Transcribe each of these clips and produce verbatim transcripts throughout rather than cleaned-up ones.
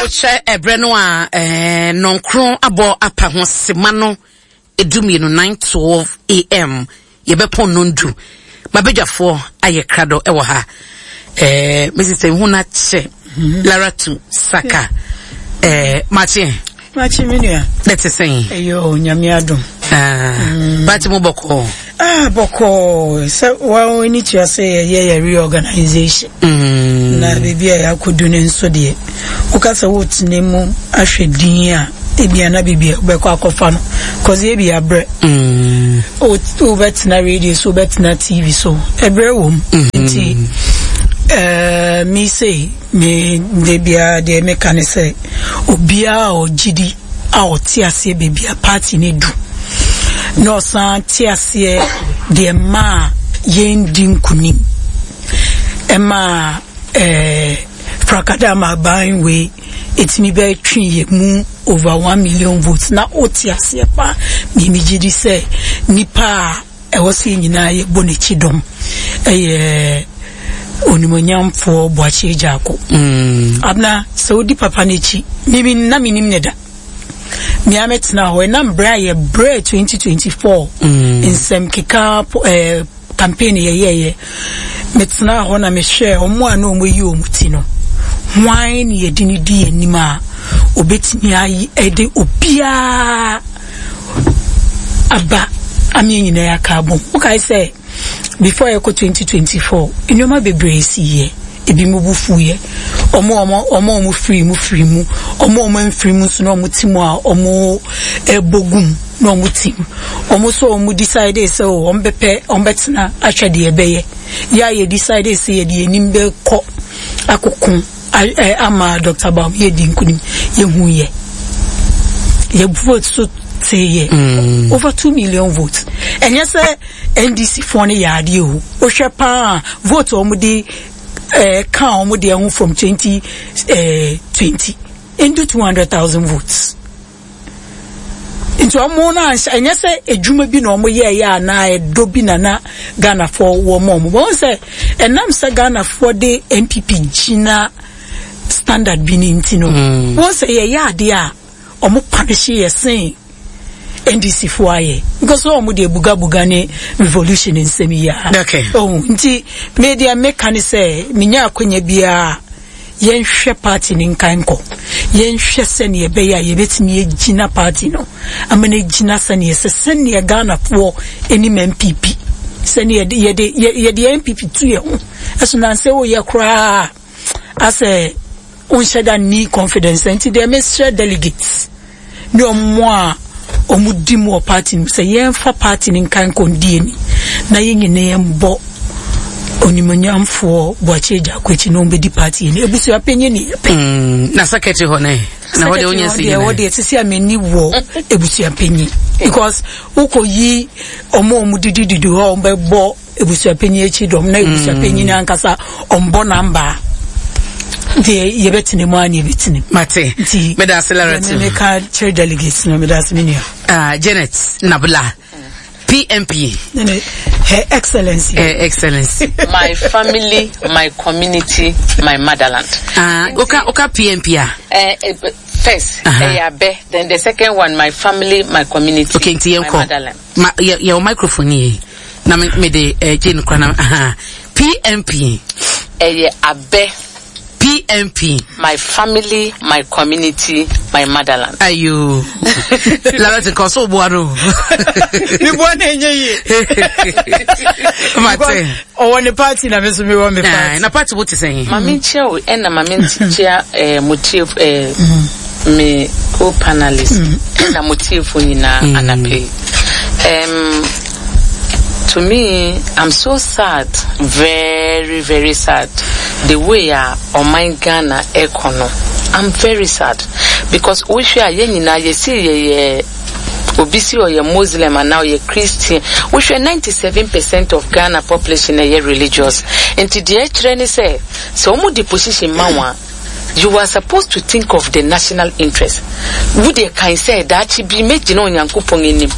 Wohyɛ ɛberɛ no a ɛɛ nɔnkron abɔ apa ho sema no edu mmienu, nine twelve A M, yɛbɛpɔn nondu. Mabadwafoɔ ayɛ krado ɛwɔ ha. ɛɛ Missus Ehu na kyɛ Laratu Saka, ɛɛ makye. Makye, me nua. Ne te sɛn? Ɛyɛ, Nyame adom. Ah, party mu bɔkɔɔ? Ah, bɔkɔɔ. Sɛ wɔn ani tua sɛ yɛyɛ yɛ reorganization. Mm. Na baabi a yɛakɔdu no nso deɛ, woka sɛ wotena mu ahwɛ din a, ebia na biribi a wobɛkɔ akɔfa no kɔse ebi abrɛ. Mm. Wobɛtena radio so, wobɛtena T V so, ɛbrɛ wɔ mu. Nti ɛɛ mi sei me de biara deɛ meka ne sɛ obiara a ɔgye di a ɔte aseɛ baabi a party ne du na ɔsan te aseɛ deɛ mmaa yɛn di nkunim ɛmaa ɛɛ frakadama aban wei ɛtumi bɛtwe yɛ mu over one million votes na ɔte aseɛ paa, mimi gye di sɛ nipa a ɛwɔ sɛ yɛn nyinaa yɛbɔ n'akyi dɔm ɛyɛ Onimonyamfoɔ Boakye Agyarko. Mm. Abena, sɛ wodi papa n'akyi, mimi na menim ne da mea mɛtena hɔ ɛnam berɛ a yɛbrɛ twenty twenty-four. Mm. Nsɛm keka eh, campaign yɛyɛyɛ, metena hɔ na mehwɛ ɔmo a na ɔmo yi ɔmo ti no, hwan ne yɛde ne di anim a obetumi ayi ɛde obiara aba ame nyinaa aka abom. Wokae sɛ before yɛkɔ twenty twenty-four, nneɛma bebree si yɛ, ebi mu bu fu yɛ, ɔmo ɔmo ɔmo ɔmo firi mu firi mu, ɔmo ɔmo mfiri mu nso na ɔmo ti mu a ɔmo ɛbɔ gum na ɔmo ti mu, ɔmo nso ɔmo decide sɛ o ɔmo bɛpɛ ɔmo bɛtena ahwɛ deɛ ɛbɛyɛ yɛ a yɛ decide sɛ yɛde anim bɛkɔ akoko ɛ ama Doctor Bawumia yɛ di nkunim. Yɛhu yɛ yɛ vote so tee yɛ Mm. over two million votes. Ɛnyɛ sɛ N D C foɔ no yɛ adeɛ o, wohwɛ paa vote a wɔn de ɛɛ ka wɔn deɛ ho from twenty ɛɛ twenty into two hundred thousand votes. Nti wɔn no anhyɛ, ɛnyɛ sɛ edwuma bi na wɔn yɛɛyɛ anaa ɛdɔ bi na na Ghanafoɔ wɔ mo wɔn wɔn sɛ ɛnam sɛ Ghanafoɔ de N P P gyina standard bi ne nti no, Mm. wɔn sɛ yɛyɛ adeɛ a wɔn punish yɛ sen N D C foɔ ayɛ because wɔn de bugabuga ne revolution nsɛm yi a. Okay. Oh, nti me deɛ meka ne sɛ menya akonnwa biara, yɛnhwɛ party ne nkan nkɔ, yɛnhwɛ sɛnea ɛbɛyɛ a yɛbɛtumi agyina party no ama no agyina sɛnea ɛsɛ, sɛnea Ghanafoɔ anim N P P, sɛnea yɛde yɛde yɛde N P P tu yɛn ho ɛso nansɛ woyɛ koraa asɛ wonhyɛ da ni confidence. Nti deɛ mesrɛ delegates ne ɔmo a ɔmo di mu wɔ party no mu sɛ yɛmfa party no nkan nkɔndi ani na yɛn nyinaa yɛmbɔ Onimonyamfoɔ Boakye Agyarko akyi na ɔmbɛdi party ani. Ebusua panyin ne yɛpɛ. Mm. Na secretary hɔ ne na hɔ deɛ wonya si deɛ wɔ nyinaa. Deɛ sisi a m'ani wɔ ebusua panyin because wokɔ yi ɔmo a ɔmo didi didi hɔ a ɔmo bɛbɔ ebusua panyin akyi dɔm na ebusua panyin ankasa ɔmbɔ namba deɛ, yɛbɛtena mu a ne yɛbɛtena mu. Mate. Nti meda ase, Laratu. Me meka kyerɛ delegates no, meda ase, me nua. Ah, Janet Nabla, P M P. Ne Her Excellency. eh, excellency My family, my community, my motherland. Ah, oka oka P M P a. Uh, uh, first, Uh-huh. uh uh, then the second one, my family, my community, Okay, nti my yɛnkɔ. motherland. Ma yɛ yɛwɔ microphone yi na me me de eh, gye no kora na aha P M P. Ɛyɛ abɛ. P M P. My family, my community, my motherland. Ayo, Laratu, nkɔ so boa no. Meboa na ɛnyɛ yie. Mate. Ɔwɔ ne party na me nso mewɔ me Ah, party. na party wo te sɛn? Maame nkyia o, ɛna maame nkyia eh, mo tie eh, me co-panelist ɛna mo tiefo nyinaa anapɛ yi. Um, to me, I'm so sad, very very sad. The way a ɔman Ghana ɛkɔ no, I'm very sad because wohwɛ a yɛn nyinaa yɛsi yɛyɛ obi si ɔyɛ Muslim anaa ɔyɛ Christian. Wohwɛ ninety seven percent of Ghana population ɛyɛ religious, nti deɛ ɛkyerɛ ne sɛ sɛ wɔn de position ma wɔn a, you are supposed to think of the national interest. Wo deɛ kan sɛ daakye bi mɛgyina Onyankopɔn anim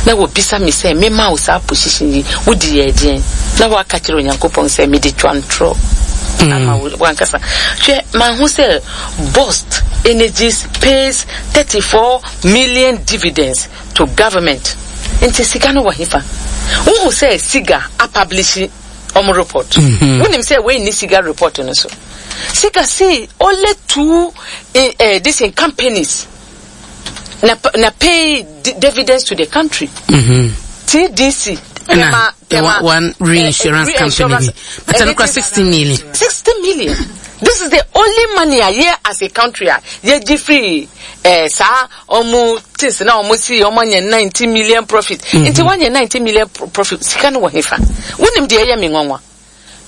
na wɔbisa me sɛ mema wo saa position yi, wode yɛ ɛdeɛn? Na woaka kyerɛ Onyankopɔn sɛ mede twa ntorɔ ama wo wankasa. Hwɛ, mahu sɛ BOST Energies pays thirty-four million dividends to government. Nti sika no wɔ hefa? Wohu sɛ SIGA apublish ɔmo report. Wonim sɛ wei ni SIGA report no so. SIGA say only two eh, eh, this in companies na na pay di- dividends to the country. T D C, Tema, Tema, one, one reinsurance eh, eh, company bi, but ɛno kora sixty million. sixty million. This is the only money a yɛ as a country a yɛgye free eh, saa ɔmo things na ɔmo si ɔmo anya ninety million profit. Nti wanya ninety million pro- profit, sika no wɔ hefa? Wonim deɛ ɛyɛ me nwanwa?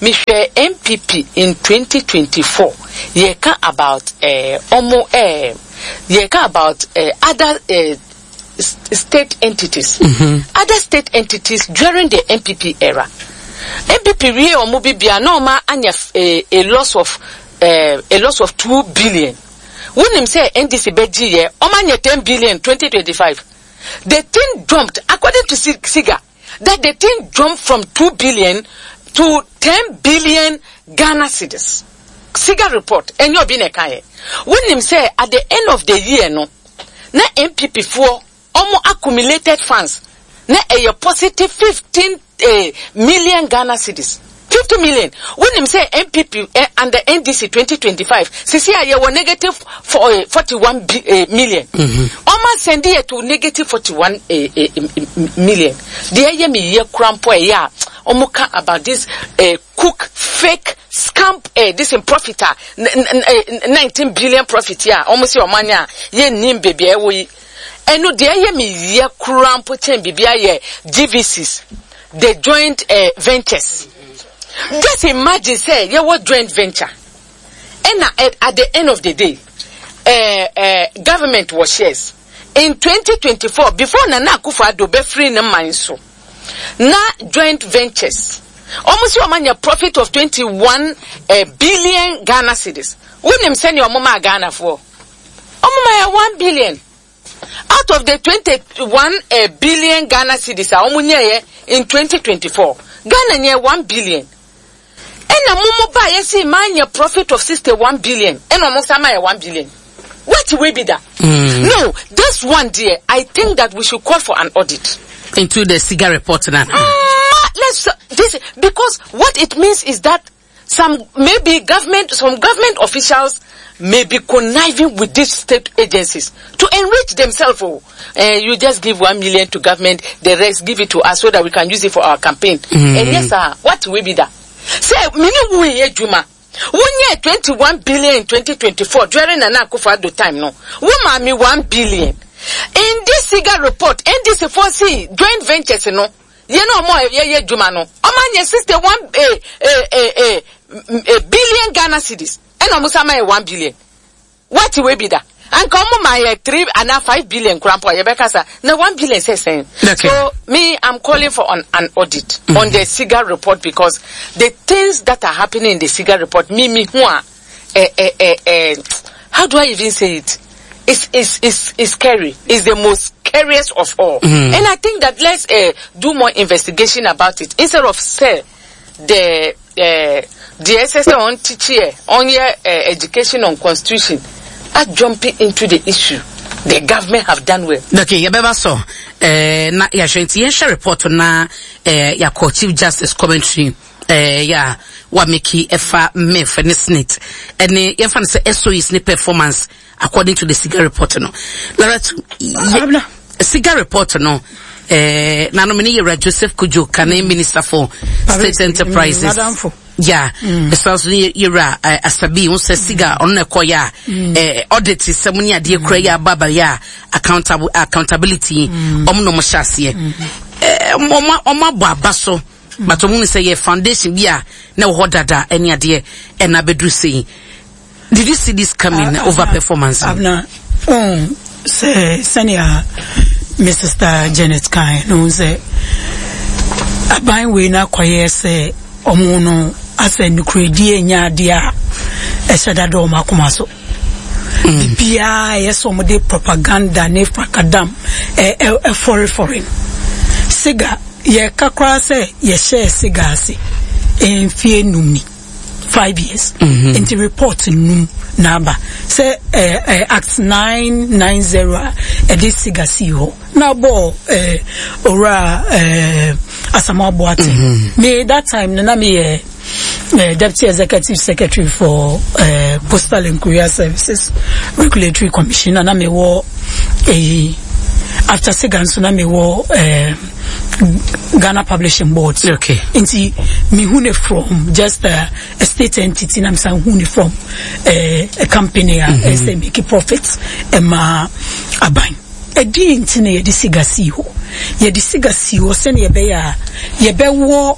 Mehwɛ N P P in twenty twenty-four, yɛka about eh, ɔmo eh, yɛka about eh, other eh, s- state entities, other state entities during the N P P era. N P P wie ɔmo bibia na ɔmo anya eh, a loss of eh, a loss of two billion. Wonim sɛ N D C bɛgye yɛ, ɔmo anya ten billion twenty twenty-five. The thing jumped, according to Si- siga that the thing jumped from two billion to ten billion Ghana cedis. SIGA report, ɛnyɛ obi na ɛka yɛ. Wonim sɛ at the end of the year no, na N P P foɔ ɔmo accumulated funds na ɛyɛ positive fifteen eh, million Ghana cedis, fifty million. Wonim sɛ N P P eh, under N D C twenty twenty-five sisi a yɛwɔ negative for, eh, forty-one bi, eh, million. Ɔmo asɛnde yɛ to negative forty-one eh, eh, million. Deɛ ɛyɛ mi yɛ kura mpo, ɛyɛ a ɔmo ka about this eh, cook fake scam eh, this in profit a eh, nineteen billion profit a ɔmo si ɔmo anya a yɛnnim beebi a ɛwɔ yi. Ɛno deɛ ɛyɛ mi yɛ kura mpo kyɛn biribi ayɛ G V Cs, the joint uh, ventures. Just imagine say yɛwɔ joint venture, ɛna at, at the end of the day, uh, uh, government wɔ shares. In twenty twenty-four, before Nana Akufo-Addo bɛfiri ne man so, na joint ventures wɔn si wɔn anya profit of twenty-one uh, billion Ghana cedis. Wonim sɛnea wɔn maa Ghanafoɔ? Wɔn maa yɛ one billion out of the twenty-one uh, billion Ghana cedis a wɔn nyɛɛ in twenty twenty-four. Ghana nyɛ one billion. Ɛna mo mo ba yɛ si maa nyɛ profit of sixty-one billion, ɛna wɔn nsa maa yɛ one billion. What will be that? Mm. No, this one dear, I think that we should call for an audit into the SIGA report now. Mm, let's this because what it means is that some maybe government some government officials may be conniving with these state agencies to enrich themselves. Oh, uh, you just give one million to government, the rest give it to us so that we can use it for our campaign. Mm. And yes, sir, what will be that? Say, mini wo adwuma. Wonyɛ twenty-one billion in twenty twenty-four during Nana Akufo-Addo time no. Wo maa me one billion. In this SIGA report, N D C foɔ joint ventures no. Yɛn na ɔmo yɛyɛ adwuma no. Ɔmo anya sixty-one eh, eh, eh, eh, eh, billion Ghana cedis. Ɛna ɔmo sama yɛ one billion. What will be that? Anka ɔmo ma yɛ three ana five billion kora mpo a yɛbɛka sa na one billion sɛ sɛn? Okay. So me, I'm calling for an, an audit mm-hmm. on the SIGA report because the things that are happening in the SIGA report, me me who are eh, eh, eh, eh, how do I even say it? It's, it's, it's, it's scary. It's the most scariest of all. Mm. And I think that let's uh, do more investigation about it instead of say the uh, the S S on teach on your uh, education on constitution are jumping into the issue. The government have done well. Okay, yɛbɛba so eh, na yɛahwɛ. Nti yɛnhwɛ report na eh, yɛakɔ Chief Justice commentary eh, yɛ a wameki ɛfa M I F ne SSNIT ɛne yɛmfa no sɛ S O Es ne performance according to the SIGA report no. Laratu, SIGA report no, eh, nanom ne yɛwura Joseph Kujo Kane, Minister for State Enterprises, ya ɛsan so ne yɛwura Asabi ho sɛ SIGA ɔno na ɛkɔ yɛ a eh, audit sɛm ne adeɛ kura yɛ aba aba yɛ a accountable accountability ɔmo na ɔmo hyɛ aseɛ, ɔmo ɔmo abɔ aba so, but ɔmo sɛ yɛ foundation bi a na ɛwɔ hɔ dada ɛne adeɛ ɛna abɛduru sɛyi. Did you see this coming, uh, over performance? Abna, um, sɛ sɛnea me sister Janet kan no sɛ aban wei no akɔyɛ sɛ ɔmo no asɛ nukuredie nyɛ adeɛ a ɛhyɛ dada ɔmo akoma so. Biribiara ɛyɛ sɛ ɔmo de propaganda ne frakadam ɛfɔrefɔre no. SIGA, yɛka koraa sɛ yɛhyɛɛ SIGA ase mfie num ni. five years. Nti report num na aba sɛ eh, eh, Act nine nine zero a ɛde SIGA sii hɔ na bɔ eh, owura eh, Asamoah Boateng. Me that time no na meyɛ uh, Deputy Executive Secretary for uh, Postal and Courier Services Regulatory Commission, na na mewɔ eyi after SIGA nso na mewɔ uh, Ghana Publishing Board. Okay. Nti mehu ne from just a, a state entity, na mesan hu ne from uh, a company a ɛsɛ make profit ɛma aban. Ɛdi nti na yɛde SIGA sii hɔ, yɛde SIGA sii hɔ sɛnea ɛbɛyɛ a yɛbɛwɔ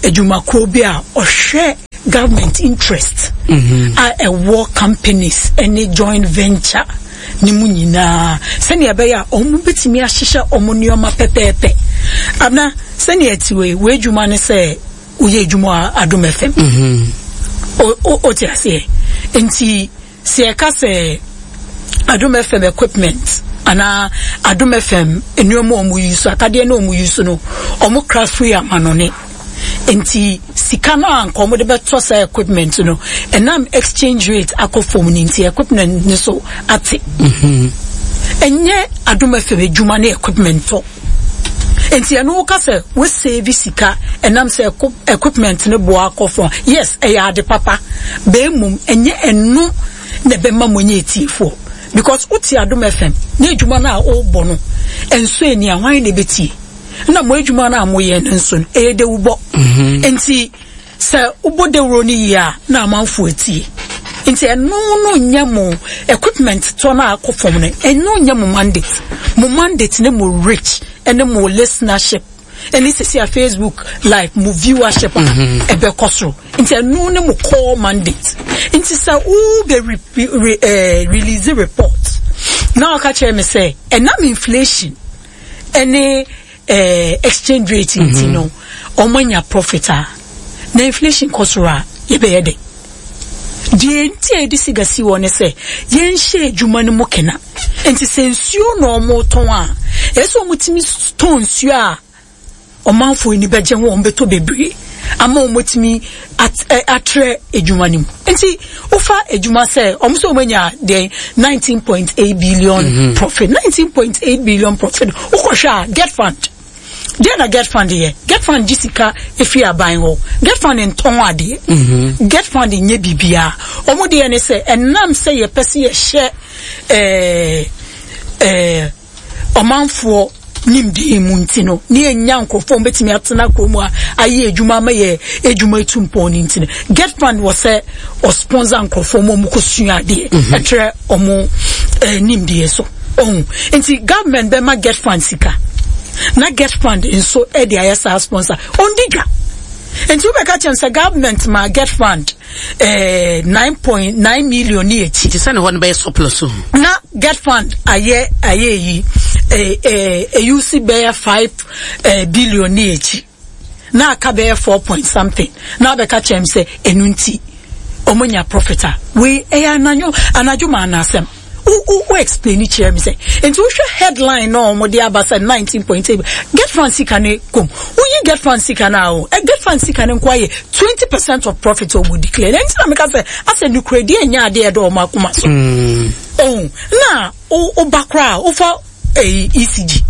adwumakuo bi a ɔhwɛ government interest a ɛwɔ companies ne joint venture ne mu nyinaa, sɛnea ɛbɛyɛ a ɔmo bɛtumi ahyehyɛ ɔmo nneɛma pɛpɛɛpɛ. Abena, sɛnea ɛte wei, wei adwuma ne sɛ woyɛ adwuma a Adom F M. O- o- o te aseɛ. Nti sɛ yɛka sɛ Adom F M equipment anaa Adom F M nneɛma a ɔmo yi so, akadeɛ na ɔmo yi so no, ɔmo kra firi amanɔne. Nti sika no a nka ɔmo de bɛtɔ saa equipment no, ɛnam exchange rate akɔ fam no nti equipment no so ate. Ɛnyɛ Adom F M adwuma ne equipment tɔ. Nti ɛno woka sɛ wo save sika ɛnam sɛ equi-, equipment no boa akɔ fam. Yes, ɛyɛ ade papa. Bɛn mmom ɛnyɛ ɛno na ɛbɛma mo nyɛ etiefoɔ. Because wote Adom F M na adwuma no a wobɔ no ɛnso ani a hwan na ɛbɛtie? Na mo adwuma no a moyɛ no nso no ɛyɛ dawubɔ. Nti sɛ wobɔ dawuro no yie a na amanfoɔ atie. Nti ɛno no nyɛ mo equipment tɔ no a akɔ fam no, ɛno nyɛ mo mandate. Mo mandate ne mo reach ɛne mo listenership ɛne sisi a Facebook live mo viewership a ɛbɛkɔ soro. Nti ɛno ne mo core mandate. Nti sɛ wo bɛ re-, re-, eh, release report na ɔka kyerɛ me sɛ ɛnam inflation ɛne, eh, exchange rate nti no ɔmo anya profit a, na inflation kɔ soro a yɛbɛyɛ dɛ. Deɛ nti a yɛde SIGA si hɔ ne sɛ yɛnhyɛ adwuma no mu kena. Nti sɛ nsuo na ɔmo tɔn a, ɛsɛ sɛ ɔmo tumi tɔn nsuo a ɔmanfoɔ ani bɛgye ho, ɔmo bɛtɔ bebree ama ɔmo tumi at-, ɛ, atrɛ adwuma no mu. Nti wofa adwuma sɛ ɔmo sɛ ɔmo anya deɛ nineteen point eight billion Mm-hmm. profit, nineteen point eight billion profit. Wokɔhwɛ a GETFund, deɛ na GETFund yɛ? GETFund gye sika efi aban hɔ. GETFund ntɔn adeɛ. Mm-hmm. GETFund nyɛ biribiara. Ɔmo deɛ ne sɛ ɛnam sɛ yɛpɛ sɛ yɛhyɛ, ɛɛ, ɛɛ, ɔmanfoɔ nimdeɛ mu nti no, ne yɛnya nkurɔfoɔ a wɔbɛtumi atena kurom a ayɛ adwuma ama yɛ adwuma etu mpɔn no nti no, GETFund wɔ sɛ ɔsponsor nkurɔfoɔ ma wɔn kɔsua adeɛ, Mm-hmm. ɛkyerɛ wɔn, eh, nimdeɛ so. Ɔho. Nti government bɛma GETFund sika, na GETFund nso ɛde ayɛ saa sponsor. Ɔndi dwa. Nti wobɛka kyerɛ sɛ government ma GETFund, eh, nine point nine million ni akyi. Nti sɛ ne hɔ no bɛyɛ surplus o. Na GETFund ayɛ, ayɛ yi, eh, eh, eyu si bɛyɛ five, eh, billion ni akyi. Na aka bɛyɛ four point something. Na abɛka kyerɛ sɛ ɛno nti ɔmo nya profit a. Wei ɛyɛ anadwo, anadwo ma anasɛm. Wo, wo, wo explain kyerɛ me sɛ. Nti wohwɛ headline na ɔmo de aba sɛ nineteen point eight. GETFund sika ne kom. Woyi GETFund sika na o. Eh, GETFund sika ne nko ayɛ twenty percent of profit ɔmo declare. Nti na meka sɛ asɛ nukuredi enya ade ɛdɔ ɔmo akoma so. Mm. Oh, na o, o ba kora, ofa eh, E C G.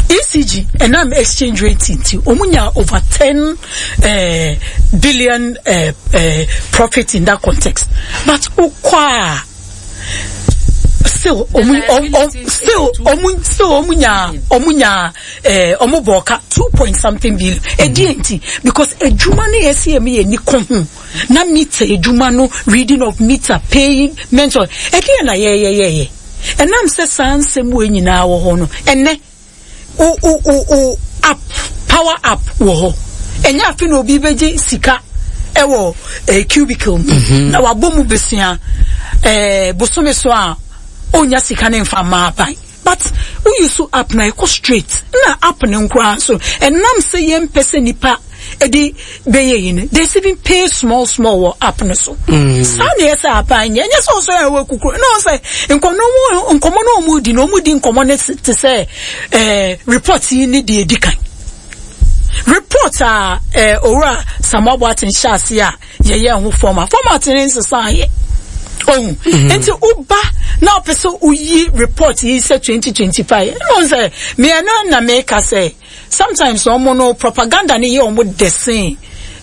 E C G ɛnam exchange rate nti ɔmo nya over ten, eh, billion, eh, eh, profit in that context. But okwa still ɔmo, ɔmo, ɔmo, still ɔmo, still ɔmo nya, ɔmo nya, eh, ɔmo bɔ ka two point something billion. Edi nti because edwuma no yɛ si emi yɛ ni ko ho. Na meter edwuma no, reading of meter, paying mentor. Edi na yɛ yɛ yɛ yɛ. Ɛnam sɛ saa nsɛm wei nyinaa wɔ hɔ no, ɛnɛ o, o, o, o app, power app wɔ hɔ. Ɛnyɛ afe na obi bɛgye sika ɛwɔ, eh, cubicle mu. Mm-hmm. Na wabɔ mu besia, eh, bosome so a onya sika ne mfa mma aban. But wo use app na ɛkɔ straight. Na app ne nkoraa so. Ɛnam sɛ yɛmpɛ sɛ nipa ɛde bɛyɛ yi no, they even pay small small wɔ app no so. Mm. Saa na ɛsɛ aban nyɛ. Ɛnyɛ sɛ ɔsɔ yɛn wɔ kukuru. Na ɔsɛ nkɔmɔ no, nkɔmɔ no ɔmo di no, ɔmo di nkɔmɔ no te sɛ, eh, report yi ne deɛ edi kan. Report a, eh, Owura Samuel Boateng hyɛ ase a Yɛyɛ ho format format ne nsesa yɛ ohun. Nti woba na ɔpɛ sɛ woyi report yi sɛ twenty twenty-five, ɛna ɔn sɛ mmienu na meka sɛ sometimes ɔmo no propaganda ne yɛ ɔmo dɛsɛn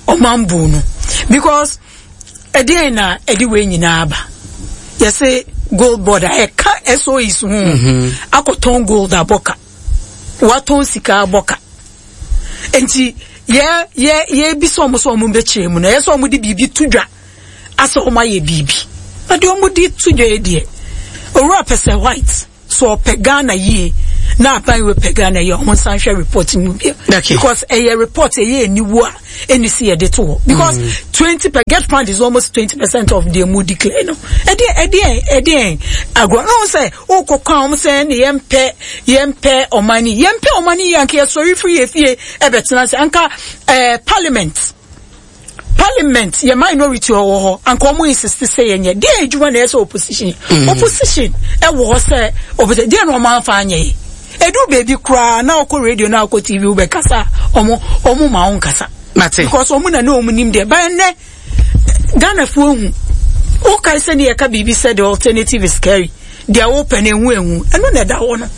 ɔman no, because ɛdeɛn na ɛde wei nyinaa aba? Yɛsɛ Gold Board a ɛka S O Es ho akɔtɔn gold abɔka, watɔn sika abɔka. Nti yɛ yɛ yɛbisa ɔmo sɛ ɔmo bɛkyerɛ mu no, ɛyɛ sɛ ɔmo de biribi to dwa asɛ ɔmo ayɛ biribi, na deɛ ɔmo de to dwa yi deɛ, Owura Kpessa Whyte so ɔpɛ Ghana yie na aban wei pɛ Ghana yie, ɔmo nsan hwɛ report mu bia, Okay. because ɛyɛ report ɛyɛ aniwu a ɛni si yɛde to hɔ, because twenty per GETFund is almost twenty percent of deɛ mu declare no. Ɛdeɛ ɛdeɛ ɛdeɛ agorɔ na wɔn sɛ ɔkɔ kwan wɔn sɛ ɛne yɛmpɛ yɛmpɛ ɔman ni, yɛmpɛ ɔman ni yie, anka yɛsɔre firi yɛ fie ɛbɛtena ase, anka ɛɛ parliament parliament yɛ minority wɔ hɔ, anka ɔmo insist sɛ yɛnyɛ deɛ adwuma na ɛyɛ sɛ opposition opposition ɛwɔ hɔ sɛ opposition deɛ na ɔmo anfa anyɛ yi. Edu beebi koraa na ɔkɔ radio na ɔkɔ T V wobɛkasa, ɔmo ɔmo ma ɔmo nkasa Mate. because ɔmo na ne ɔmo nim deɛ bɛn nɛ Ghanafoɔ ehu. Wokae sɛ ne yɛka biribi sɛ the alternative is scary, deɛ wopɛ no ehu ehu, ɛno na ɛda hɔ no,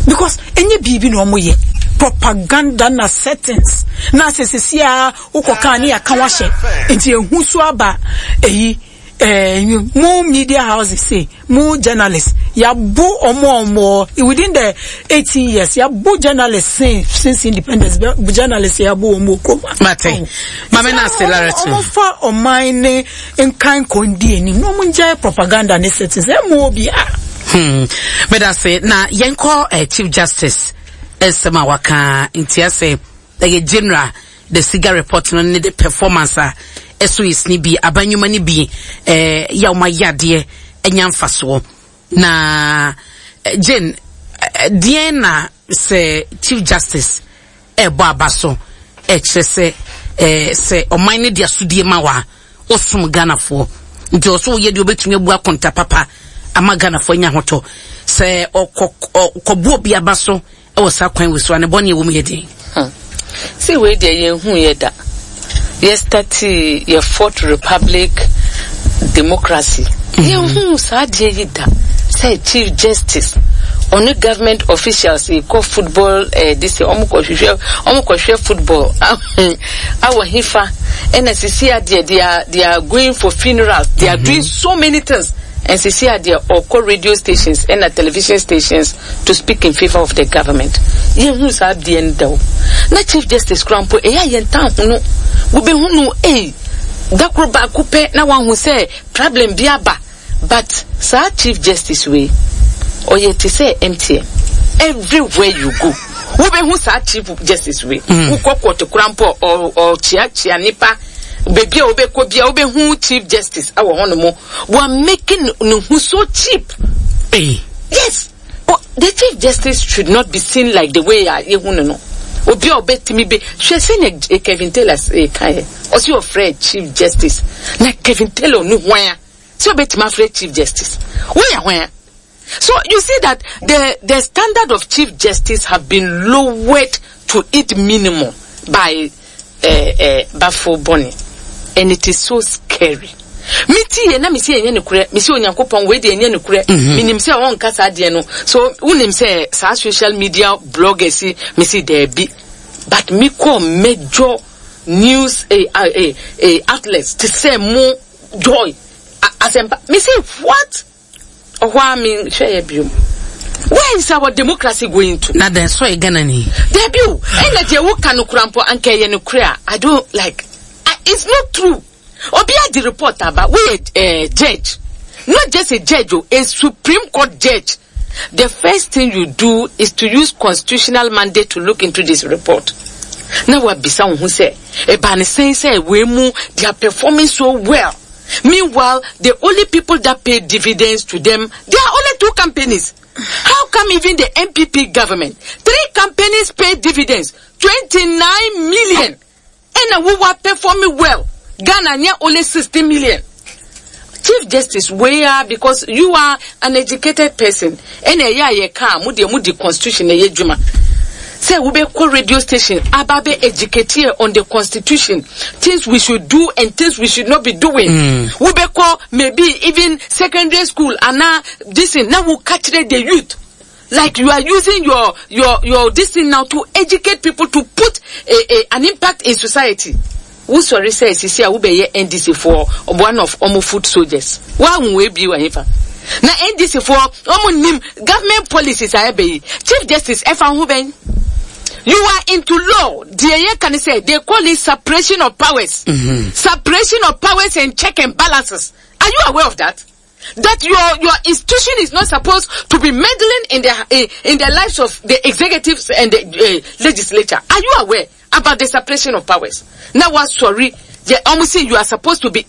because ɛnyɛ biribi na ɔmo yɛ propaganda na settings na sɛ sisi a wokɔ kan ne yɛaka wahyɛ nti ehu so aba. Eyi ɛɛ mo media houses say mo journalists yabo ɔmo ɔmo within the eighteen years, yabo journalists since since independence, bɛ- journalists yabo ɔmo kurom. Mate. Maame na ase Larry. Ɔmo fa ɔman ne nkan kɔndi anim na ɔmo ngyae propaganda ne settings ɛmo obi a. Hmm. Meda se na yɛnkɔ eh, Chief Justice nsɛm a waka. Nti asɛ ɛyɛ general the SIGA report no ne the performance a ɛso yɛ sini bi abanyoma no bi eh, yɛ a wɔn ayɛ adeɛ anya mfasoɔ na eh, Jane, eh, deɛn na sɛ Chief Justice ɛrebɔ aba so ɛkyerɛ sɛ eh, sɛ ɔman no de asodie ma wa ɔsom Ghanafoɔ, nti ɔso woyɛ deɛ wobɛtumi abu akonta papa ama Ghanafoɔ anya ahotɔ, sɛ ɔkɔ ɔkɔbu obi aba so ɛwɔ saa kwan wɔ so a, ne bɔne ɛwɔ mu yɛ den? See, wei deɛ yɛnhu yɛ da. Yɛ start yɛ Fourth Republic democracy, yɛnhu saa adeɛ yi da sɛ Chief Justice ɔne government officials kɔ football eh, this ɔmo kɔhwehwɛ ɔmo kɔhwɛ football awɔ hifa, ɛna sisi adeɛ they are they are going for funerals, they are doing so many things, and sisi adeɛ ɔkɔ radio stations ɛna television stations to speak in favour of the government. Yɛnhu saa adeɛ no da o. Na Chief Justice kura mpo, ɛyɛ a yɛn tan ho no, wobɛhu no ee dakoro baako pɛ na wahu sɛ problem bi aba. But saa Chief Justice wei ɔyɛ te sɛ M T N. Everywhere you go, wobɛhu saa Chief Justice wei. Wokɔ court kora mpo, ɔkyeakyea nipa. Beebi a wobɛkɔ bia, wobɛhu Chief Justice awɔ hɔ nom. We making ne ho so cheap. Hey. Yes, oh, the Chief Justice should not be seen like the way a yehu no no Obi a ɔbɛtumi bɛ hwɛ sɛnea Kevin Taylor kan yɛ, ɔsi ɔfrɛ Chief Justice, na Kevin Taylor no hwan a sɛ ɔbɛtumi afrɛ Chief Justice? Woyɛ hwan a? So you see that the the standard of Chief Justice have been lowered to its minimum by uh, uh, Baffoe-Bonnie, and it is so scary. Me ti yɛ na me si ɛnyɛ nokorɛ, me si Onyankopɔn, wei deɛ ɛnyɛ nokorɛ. Menim sɛ ɔnka saa deɛ no so. Wonim sɛ saa social media bloggers yi, me si daabi, but me kɔ major news eh, eh, eh, outlets te sɛ mo Joy Asɛmpa, me si what? Ɔhɔ a me hwɛ yɛ biom. Where is our democracy going to? Na dan so yɛ Ghana ni. Dabi o, ɛna deɛ woka no kora mpo, anka ɛyɛ no kora a, I don't like I, it's not true. Obi adi report aba, woyɛ uh, judge, not just a judge o, a Supreme Court judge. The first thing you do is to use constitutional mandate to look into this report. Na wabisa wo ho sɛ ɛba ne sɛn sɛ wei mu they are performing so well. Meanwhile, the only people that pay dividends to them, they are only two companies. How come even the N P P government, three companies pay dividends, twenty-nine million, and we were performing well? Ghana near only sixty million. Chief Justice, we are because you are an educated person. Ɛna ɛyɛ a yɛ kaa mo deɛ mo di constitution ɛyɛ adwuma. Sɛ wobɛkɔ radio station aba bɛ educate yɛ on the constitution, things we should do and things we should not be doing. Mm. Wobɛkɔ maybe even secondary school anaa this thing na woka kyerɛ the youth like you are using your your your this thing now to educate people to put a, a, an impact in society. Wosɔre sɛ sisi a wobɛyɛ N D C foɔ one of ɔmo foot soldiers. Woahu wei bio ɛhefa? Na N D C foɔ ɔmo nim government policies a ɛbɛ yi. Chief Justice ɛfa ho bɛn? You are into law. Deɛ yɛka ne sɛ they call it separation of powers. Mm-hmm. Separation of powers and check and balances. Are you aware of that? That your your institution is not supposed to be meddling in the in, in the lives of the executives and the uh, legislature. Are you aware about the separation of powers? Now what, sorry, they almost say you are supposed to be